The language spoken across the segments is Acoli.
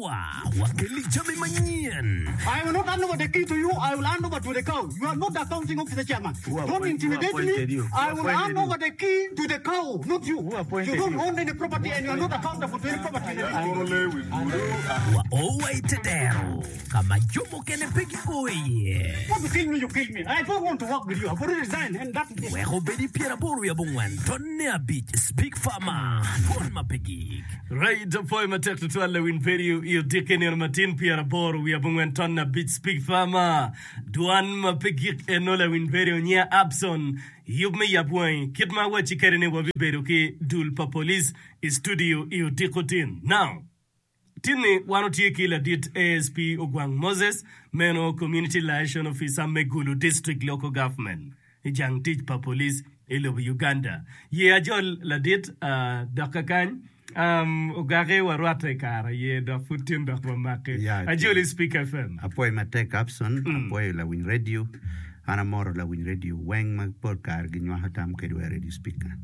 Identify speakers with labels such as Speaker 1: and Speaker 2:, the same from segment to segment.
Speaker 1: Wakeli jami manyen.
Speaker 2: I will not hand over the key to you, I will hand over to the cow. You are not the accounting officer chairman. Don't intimidate me. I will hand over the key to the cow, not you. You don't own any property and you are not accountable to any property in the district.
Speaker 1: Wa o wa i te dero ka ma jo mukene pe gio iye.
Speaker 2: Want to kill me, you kill me. I don't want to work with you. I've already resigned and that is it.
Speaker 1: Wek obed i pyeraboro wiye abongwen tonne abic Speak Farmer, Dwon ma pe gik.
Speaker 3: Right apwoyo matek tutwal lawiny vedio i odiki nino matin pyeraboro wiye abongwen ton abic speak farmer dwan ma pe gik eno lawiny vedio nyiya Abson yub me yab wangi kit ma awacci kede ni wabibedo ki dul pa police i studio i odiko tin now tinni wan otye ki ladit ASP Ogwang Moses meno community liaison officer me Gulu district local government i jang tic pa police i lobo Uganda. Ye ajol ladit dok kakany ogaki warwatte i kare aye dok pud tin dok wamaki. Ajoli Speak FM.
Speaker 4: Apwoyo matek Abson, apwoyo lawiny radio. An amoro lawiny radio weng ma pol kare ginywako tam kedwa i radio speaker.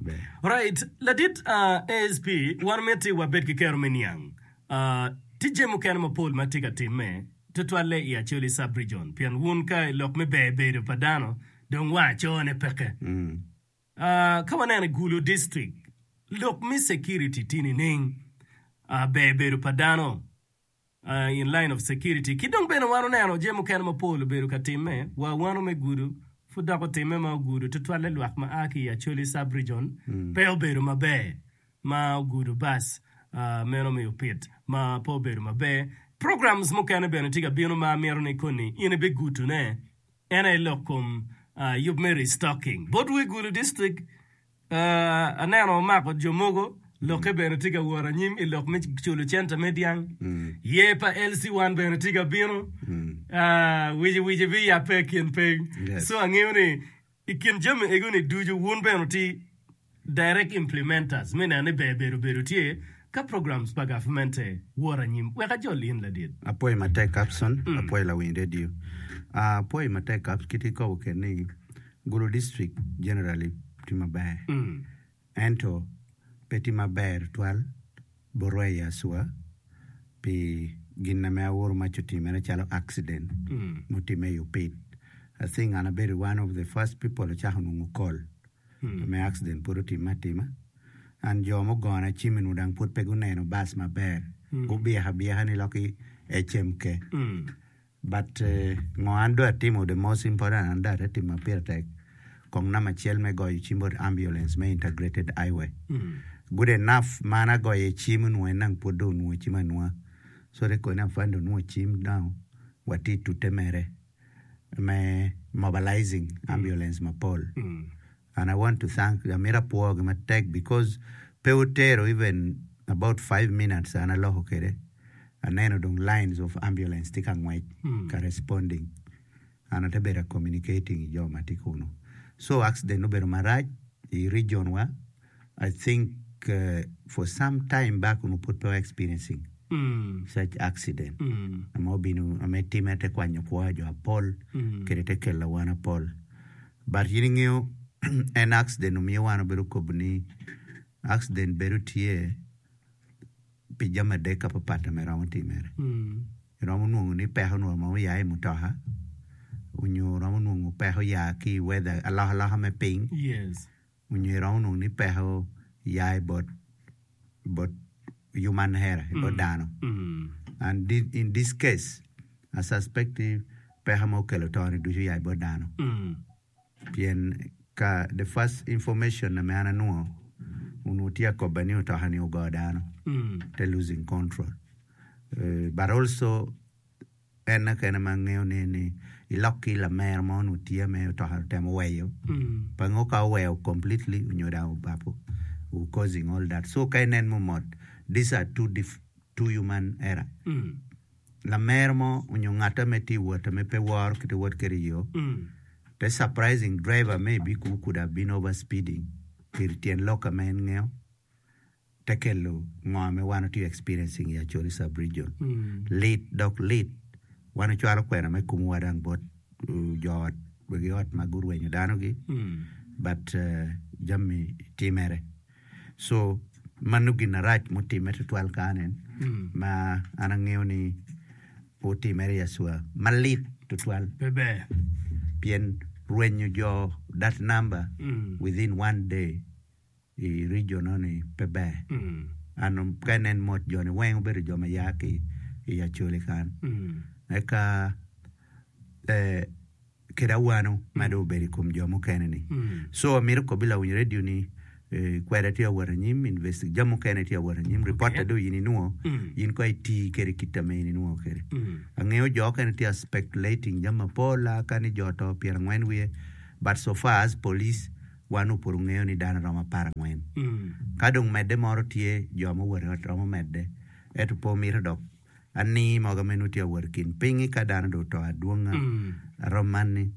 Speaker 4: Ber.
Speaker 3: Right, ladit ASP, wan miti wabed ki kero me niang tye jami mukene mapol ma tye ka timme tutwalle i Acholi Sub-Region pien wun ka i lok me ber bedo pa dano dong wa acone peke. Ka waneno i Gulu District lok me security tye nining? Ber bedo pa dano in line of security ki dong bene wan oneno jami mukene mapol obedo ka timme wa wano me Gulu pud dok otimme ma ogudo tutwalle lwak ma a ki i Acholi Sub-Region pe obedo maber. ma ogudo bac meno me opit ma pe obedo maber. Programs mukene bene tye ka bino ma amito ni koni in ibigutune en aye lok kom yub me restocking. Botwu i Gulu district aneno omako jo mogo lokke bene tye ka wot anyim i lok me culo cente me dyang. Yer pa LC1 bene tye ka bino wici wici biyabbe i kin piny. So angeyo ni I kin jami ego-ni ducu, wun bene wuti direct implementers me neno ni ber bedo bedo tye ka programs pa gavmente wot anyim. Wek ajol in ladit.
Speaker 4: Apwoyo matek Capson, apwoyo lawiny radio. Apwoyo matek Caps kit ikobo kede ni Gulu district generally tye maber. Ento pe tye maber tutwal botwa i Acua pi gin ame awuro mac otimere calo accident mutime i Opit. I think an abedo one of the first people acako nongo call me accident pud otime atima and jo mugona cim onongo dang pud pe guneno bus maber gubyeko abyeka ni loki HMK. But ngo an dong atimo the most important an dong ate timo ma pire tek kong namba acel me goyo cim bot ambulance me integrated highway good enough ma an agoyo iye cim onongo en dong pud dong onwongo cim anwonga so te koni afande onwongo cim now watye tute mere me mobilizing ambulance mapol And I want to thank amito apwogi matek because pe wutero even about five minutes an aloko kwede aneno dong lines of ambulance tye ka ngwec ka responding and ate bedo communicating ki jo ma tye kunu so accident obedo marac i region wa I think for some time back onongo pud pe wa experiencing such accident ma obino ma time te kwanyo kwo jo apol kede te kelo awano apol. But in ingeyo en accident omiyo wan obedo kobo ni accident bedo tye pi jami adek papat ma romo timere. Iromo nongo ni peko onongo oya i mutoka onyo iromo nongo peko oya ki i weather alokaloka me piny onyo iromo nongo ni peko oya i bot bot human error i bot dano and in this case I suspect ni peko ma okelo to ni ducu oya i bot dano pien ka the first information ma an anwongo onongo tye akoba ni otoka ni ogo dano te losing control but also En kene ma angeyo ne ni ilok ki lamera mo onongo tye me otoka otemo weyo pe angeyo ka oweyo completely onyo dong obapo causing all that so ka inen mot these are two two human error lamera mo onyo ngata me tye wot me pe woro kite wot kwede iyo te surprising driver maybe could have been over speeding pi tyen lok ma en ngeyo. te kelo ngo me wan watye experiencing i Acholi sub region. Lit dok lit. Wan ocwalo kwena me kumu wa dang bot jo ot wegi ot ma gurwenyo dano gi but jami timere. So. Mano gin arac mutimme tutwal kany en ma an angeyo ni otimere i Acwa malit tutwal
Speaker 3: Pe ber.
Speaker 4: pien rwenyo jo that number within one day i region eno-ni pe ber. An ka inen mot jo-ni weng obedo jo ma ya ki i Acholi kany. Eka kede awano ma dong obedo i kom jo mukene-ni. Co amito kobbi lawiny redio ni kweda tye ka wot anyim, jami mukene tye ka wot anyim, ripotta dong in inwongo, in kong iti kwede kit ma in inwongo kwede. Angeyo jo mukene tye ka speculating jami mapol aka ni jo oto pyerangwen wiye but so far as police wan nongo pud ongeyo ni dano romo aparangwen. Ka dong medde moro tye jo ma owoto i ot romo medde ento pe omito dok Ani mogo ma nongo tye ka wot i kin piny-ngi ka dano dong oto adwonga arom man-ni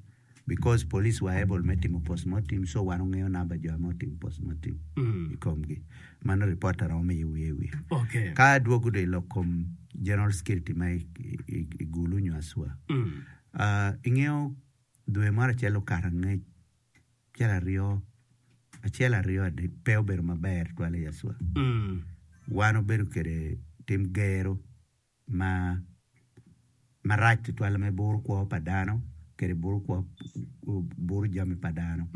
Speaker 4: because police were able me timo post mortem so wan wangeyo namba jo ma otimo post mortem i komgi. Mano report aromo miyo wiye i wiye.
Speaker 3: Okay.
Speaker 4: Ka adwogo dong i lok kom general security ma i Gulu nyo Aswa, ingeyo dwe moro acel okato angec Acel aryo, acel aryo adek pe obedo maber tutwal i Yacwa. Wan obedo kwede tim gero ma marac tutwal me buro kwo pa dano kede buro kwo buro jami pa dano.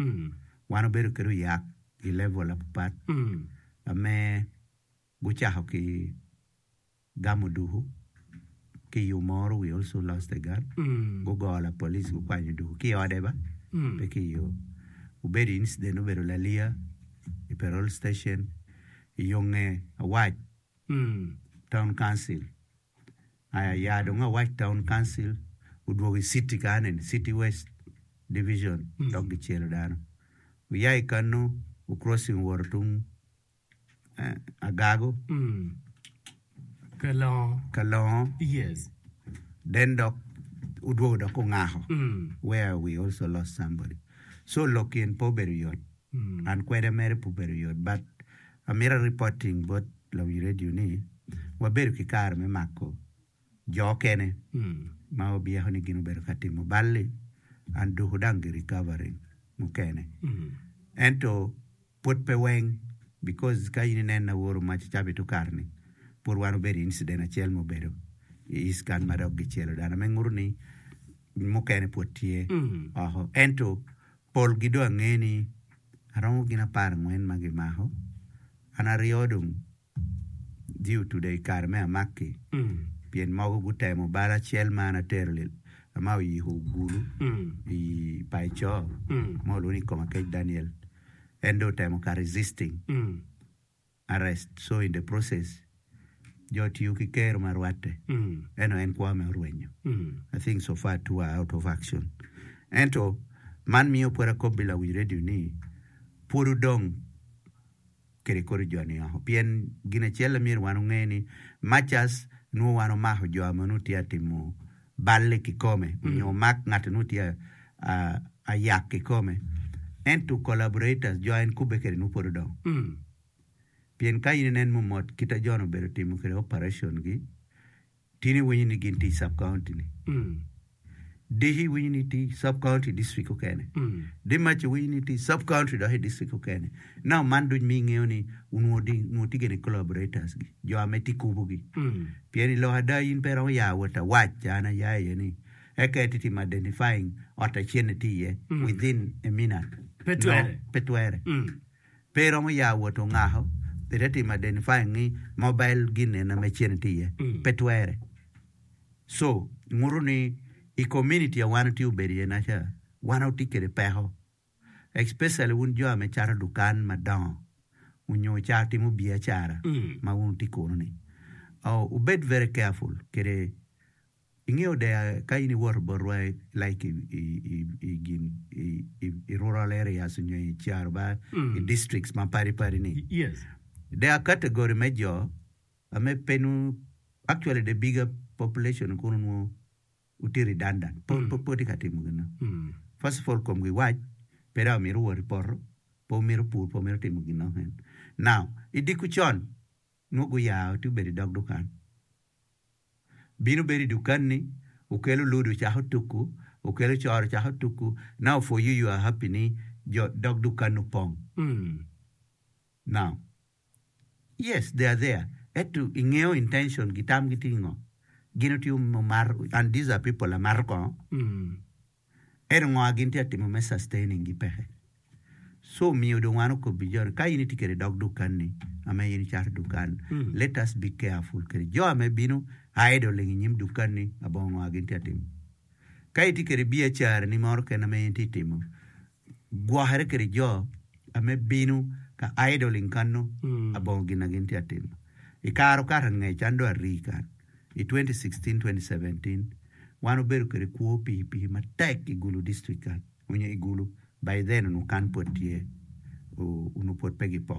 Speaker 4: Wan obedo kwede oyak i level mapat ame gucako ki gamo duku ki i Omoro we also lost a girl gugo lapolice gukwanyo duku ki i ode ba pe ki i yo obedo incident obedo laliya i parole station i yo nge Awac town council aya ya dong Awac town council odwogo i city kany eni city west division dok gicelo dano oya i kanu o crossing owoto tung Agago, Kalongo, then dok odwogo dok ongako where we also lost somebody. So lok yen pe obedo yot, an kweda mere pe obedo yot but amito a reporting bot lawiny radio ni wabedo ki kare me mako jo okene ma wabyeko ni gin obedo ka timo bal-li and doko dang gi recovering mukene ento Pwod pe weng because ka in inen aworo mac cabit okato ni pwod wan obedo i incident acel ma obedo i east kan ma dok gicelo dano me nguto ni mukene pwod tye oko ento pol gi dong ange ni aromo gin aparangwen ma gimako an aryo dong Ji otude i kare me amakki, pien mogo gutemo bal acel ma an atero ma oyiko ogulu i pa eco ma olwongo ni Komakec Daniel. En dong otemo ka resisting arrest so in the process jo otiyo ki kero ma rwatte ento en kwo me orwenyo. I think so far two are out of action. Ento man miyo pwod akobbi lawiny radio ni pwod odong kede kodi jo-ni oko. Pien gin acel a myero wan onge ni much as nwo wan omako jo ma nongo tye atimo balle kikome onyo omak ngat nongo tye ayak kikome ento collaborators jo en kubbe kede nongo pwod odong. Pien ka in inen mumot kita jo ni obedo timo kede operation gi Tin iwinyo ni gin tye i sub county ni. Diki iwinyo ni tye i sub county district okene. Dimac iwinyo ni tye i sub county dok i district okene. Now man duc miyo ingeyo ni onongo onongo tye gene collaborators gi, jo ame tye kubo gi. Pien i lok ada in pe iromo ya wot awac an aya iye ni eka itye timo identifying ot acel-ni tye iye within a minute.
Speaker 3: Pe twere.
Speaker 4: No, pe twere. Pe iromo ya wot ongako ite timo identifying ni mobile gin ena me cene tye iye. Pe twere. So, nguto ni i community a wan watye obedo iye naca, wan watye kwede peko. Especially wun jo me cato dukan madongo onyo cato timo biacara ma wun wutye kunu ni. Oh, wubed very careful kwede Ingeyo deya ka in iwoto botwa like i gin i rural areas nyo i caro ba i districts ma padi padi ni there are category me jo ame pe nongo actually the bigger population kono nongo tye redundant pe tye ka timo gin mo. First of all komgi wac pe dok omito wot i poto pe omito pur pe omito timo gin mo keken. Now i diko con nongo guyao tye obedo i dog dukan. Bino bedo i dukanni, okelo ludo ocako tuku, okelo coro ocako tuku, now for you you are happy ni jo dog dukan opong. Now, Yes they are there ento ingeyo intention gi tam gi tye ngo? Gin otye mato and these are people amato kongo ento ngo gin tye atimo me sustaining gi peke. So omiyo dong wan okobbi jo ni ka in itye kwede dog dukanni ame in icato dukan let us be careful kwede jo ame bino idling inyim dukanni abongo ngo gin tye atimo. Ka itye kwede biacarani moro kene ame in itye timo gwokere kwede jo ame bino ka idling kano abongo gin na gin tye atimo. I kare okato angec an dong arii kany i 2016, 2017 wan obedo kwede kwo pikipiki matek i Gulu district kany onyo i Gulu by then onongo kan pwod tye onongo pwod pe gipoko.